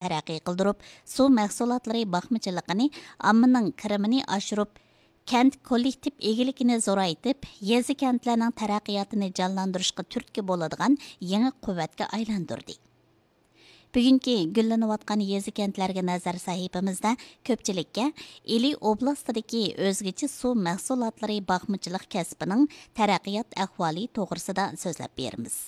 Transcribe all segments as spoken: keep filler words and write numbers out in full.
تەرەققىي قىلدۇرۇپ، سۇ مەھسۇلاتلىرى باقمىچىلىقىنى، ئاممىنىڭ كىرىمىنى ئاشۇرۇپ، كەنت كوللېكتىپ ئىگىلىكىنى زورايتىپ، يېزا كەنتلەرنىڭ تەرەققىياتىنى جانلاندۇرۇشقا تۈرتكە بولىدىغان يېڭى قۇۋۋەتكە ئايلاندۇردى. بۈگۈنكى گۈللىنىۋاتقان يېزا كەنتلەرگە نەزەر سەھىپىمىزدە كۆپچىلىككە ئىلى ئوبلاستىدىكى ئۆزگىچە سۇ مەھسۇلاتلىرى باقمىچىلىق كەسپىنىڭ تەرەققىيات ئەھۋالى توغرىسىدا سۆزلەپ بېرىمىز.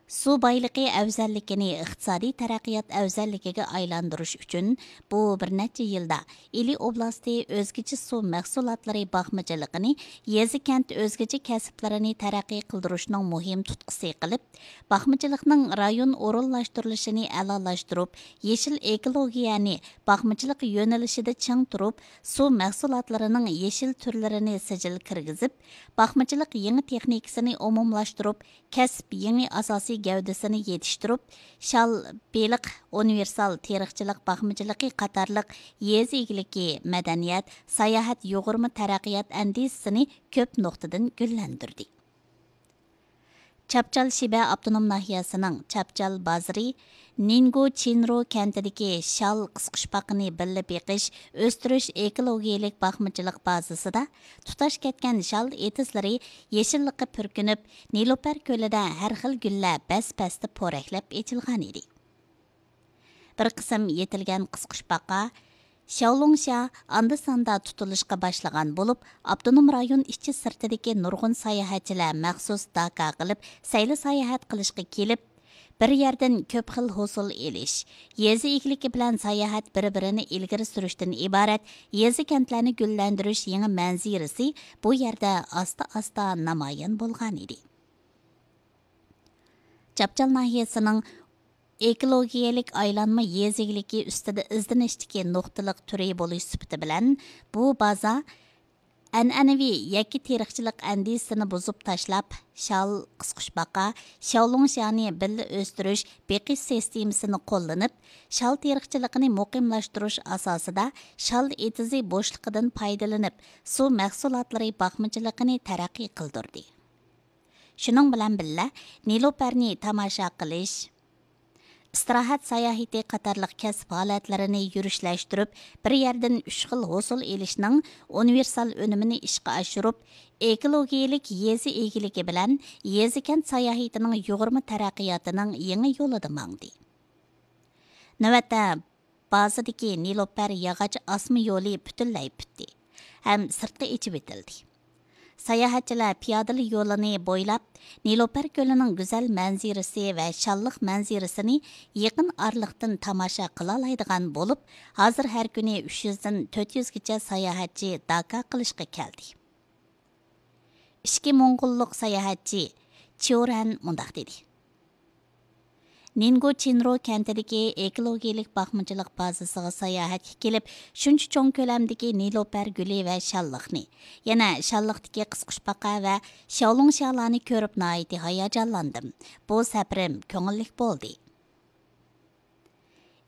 سۇ بايلىقى ئەۋزەللىكىنى ئىقتىسادىي تەرەققىيات ئەۋزەللىكىگە ئايلاندۇرۇش ئۈچۈن، بۇ بىر نەچچە يىلدا ئىلى ئوبلاستى ئۆزگىچە سۇ مەھسۇلاتلىرى باقمىچىلىقىنى، يېزا كەنت ئۆزگىچە كەسىپلىرىنى تەرەققىي قىلدۇرۇشنىڭ مۇھىم تۇتقىسى قىلىپ، باقمىچىلىقنىڭ رايون ئورۇنلاشتۇرۇلۇشىنى ئەلالاشتۇرۇپ، يېشىل ئېكولوگىيەنى باقمىچىلىق يۆنىلىشىدە چىڭ تۇرۇپ، سۇ مەھسۇلاتلىرىنىڭ يېشىل تۈرلىرىنى سىجىل كىرگۈزۈپ، باقمىچىلىق يېڭى تېخنىكىسىنى ئومۇملاشتۇرۇپ، كەسىپ يېڭى ئاساسىي گەۋدىسىنى يېتىشتۈرۈپ، شال، بېلىق، ئۇنىۋېرسال تېرىقچىلىق باقمىچىلىقى قاتارلىق يېزا ئىگىلىكى، مەدەنىيەت، ساياھەت يۇغۇرما تەرەققىيات ئەندىزىسىنى كۆپ نۇقتىدىن گۈللەندۈردى. چاپچال شىبە ئاپتونوم ناھىيەسىنىڭ چاپچال بازىرى نىنگو چىنرو كەنتىدىكى شال قىسقۇچپاقىنى بىللە بېقىش، ئۆستۈرۈش ئېكولوگىيەلىك باقمىچىلىق بازىسىدا تۇتاش كەتكەن شال ئېتىزلىرى يېشىللىققا پۈركىنىپ، نېلۇپەر كۆلىدە ھەر خىل گۈللەر بەس-بەستە پورەكلەپ ئېچىلغانىدى. بىر قىسىم يېتىلگەن قىسقۇچپاقا، شياۋلۇڭشيا ئاندا-ساندا تۇتۇلۇشقا باشلىغان بولۇپ، ئاپتونوم رايون ئىچى سىرتىدىكى نۇرغۇن ساياھەتچىلەر مەخسۇس داكا قىلىپ، سەيلە ساياھەت قىلىشقا كېلىپ، بىر يەردىن كۆپ خىل ھوسۇل ئېلىش، يېزا ئىگىلىكى بىلەن ساياھەت بىر-بىرىنى ئىلگىرى سۈرۈشتىن ئىبارەت يېزا كەنتلەرنى گۈللەندۈرۈش يېڭى مەنزىرىسى بۇ يەردە ئاستا-ئاستا نامايان بولغانىدى. چاپچال ناھىيەسىنىڭ ئېكولوگىيەلىك ئايلانما يېزا ئىگىلىكى ئۈستىدە ئىزدىنىشتىكى نۇقتىلىق تۈرى بولۇش سۈپىتى بىلەن، بۇ بازا ئەنئەنىۋى يەككە تېرىقچىلىق ئەندىزىسىنى بۇزۇپ تاشلاپ، شال، قىسقۇچپاقا، شياۋلۇڭشيانى بىللە ئۆستۈرۈش، بېقىش سىستېمىسىنى قوللىنىپ، شال تېرىقچىلىقىنى مۇقىملاشتۇرۇش ئاساسىدا شال ئېتىزى بوشلۇقىدىن پايدىلىنىپ، سۇ مەھسۇلاتلىرى باقمىچىلىقىنى تەرەققىي قىلدۇردى. شۇنىڭ بىلەن بىللە، نېلۇپەرنى تاماشا قىلىش، ئىستىراھەت ساياھىتى قاتارلىق كەسىپ ھالەتلىرىنى يۈرۈشلەشتۈرۈپ، بىر يەردىن ئۈچ خىل ھوسۇل ئېلىشنىڭ ئۇنىۋېرسال ئۈنۈمىنى ئىشقا ئاشۇرۇپ، ئېكولوگىيەلىك يېزا ئىگىلىكى بىلەن يېزا كەنت ساياھىتىنىڭ يۇغۇرما تەرەققىياتىنىڭ يېڭى يولىدا ماڭدى. نۆۋەتتە، بازىدىكى نېلۇپەر ياغاچ ئاسما يولى پۈتۈنلەي پۈتتى ھەم سىرتقا ئېچىۋېتىلدى. ساياھەتچىلەر پىيادىلىك يولىنى بويلاپ، نېلۇپەر كۆلىنىڭ گۈزەل مەنزىرىسى ۋە شاللىق مەنزىرىسىنى يېقىن ئارىلىقتىن تاماشا قىلالايدىغان بولۇپ، ھازىر ھەر كۈنى ئۈچ يۈزدىن تۆت يۈزگىچە ساياھەتچى داكا قىلىشقا كەلدى. ئىچكى موڭغۇللۇق ساياھەتچى چيورەن مۇنداق دېدى: نىنگو چىنرو كەنتىدىكى ئېكولوگىيەلىك باقمىچىلىق بازىسىغا ساياھەتكە كېلىپ، شۇنچە چوڭ كۆلەمدىكى نېلۇپەر گۈلى ۋە شاللىقنى، يەنە شاللىقتىكى قىسقۇچپاقا ۋە شياۋلۇڭشيالارنى كۆرۈپ ناھايىتى ھاياجانلاندىم. بۇ سەپىرىم كۆڭۈللۈك بولدى.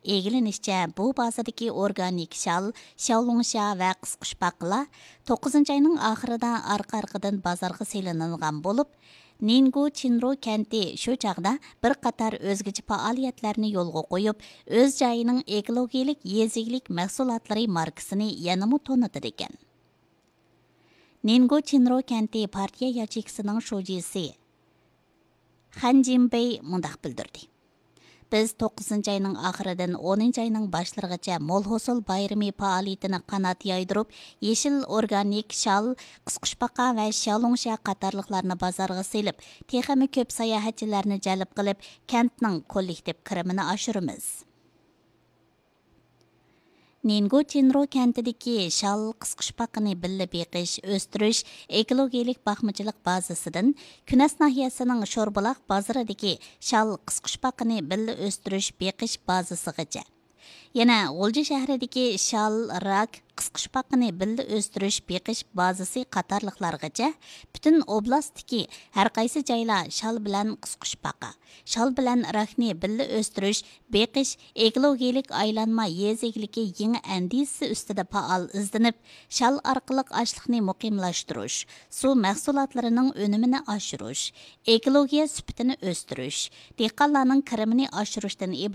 ئىگىلىنىشىچە، بۇ بازىدىكى ئورگانىك شال، شياۋلۇڭشيا ۋە قىسقۇچپاقىلار توققۇزىنچى ئاينىڭ ئاخىرىدا ئارقا-ئارقىدىن بازارغا سېلىنىدىغان بولۇپ، نىنگو چىنرو كەنتى شۇ چاغدا بىر قاتار ئۆزگىچە پائالىيەتلەرنى يولغا قويۇپ، ئۆز جايىنىڭ ئېكولوگىيەلىك يېزا ئىگىلىك مەھسۇلاتلىرى ماركىسىنى يەنىمۇ تونۇتىدىكەن. نىنگو چىنرو كەنتى پارتىيە ياچېيكىسىنىڭ شۇجىسى خەن جىنبېي مۇنداق بىلدۈردى: بىز توققۇزىنچى ئاينىڭ ئاخىرىدىن ئونىنچى ئاينىڭ باشلىرىغىچە مول ھوسۇل بايرىمى پائالىيىتىنى قانات يايدۇرۇپ، يېشىل ئورگانىك شال، قىسقۇچپاقا ۋە شياۋلۇڭشيا قاتارلىقلارنى بازارغا سېلىپ، تېخىمۇ كۆپ ساياھەتچىلەرنى جەلپ قىلىپ، كەنتنىڭ كوللېكتىپ كىرىمىنى ئاشۇرىمىز. نىنگو چىنرو كەنتىدىكى شال قىسقۇچپاقىنى بىللە بېقىش، ئۆستۈرۈش ئېكولوگىيەلىك باقمىچىلىق بازىسىدىن كۈنەس ناھىيەسىنىڭ شوربۇلاق بازىرىدىكى شال قىسقۇچپاقىنى بىللە ئۆستۈرۈش بېقىش بازىسىغىچە، يەنە غۇلجا شەھىرىدىكى شال، راك، قىسقۇچپاقىنى بىللە ئۆستۈرۈش، بېقىش بازىسى قاتارلىقلارغىچە پۈتۈن ئوبلاستتىكى ھەرقايسى جايلار شال بىلەن قىسقۇچپاقا، شال بىلەن راكنى بىللە ئۆستۈرۈش، بېقىش، ئېكولوگىيىلىك ئايلانما يېزا ئىگىلىكى يېڭى ئەندىزىسى ئۈستىدە پائال ئىزدىنىپ، شال ئارقىلىق ئاشلىقنى مۇقىملاشتۇرۇش، سۇ مەھسۇلاتلىرىنىڭ ئۈنۈمىنى ئاشۇرۇش، ئېكولوگىيە سۈپىتىنى ئۆستۈرۈش، دېھقانلارنىڭ كىرىمىنى ئاشۇرۇشتىن ئىبارەت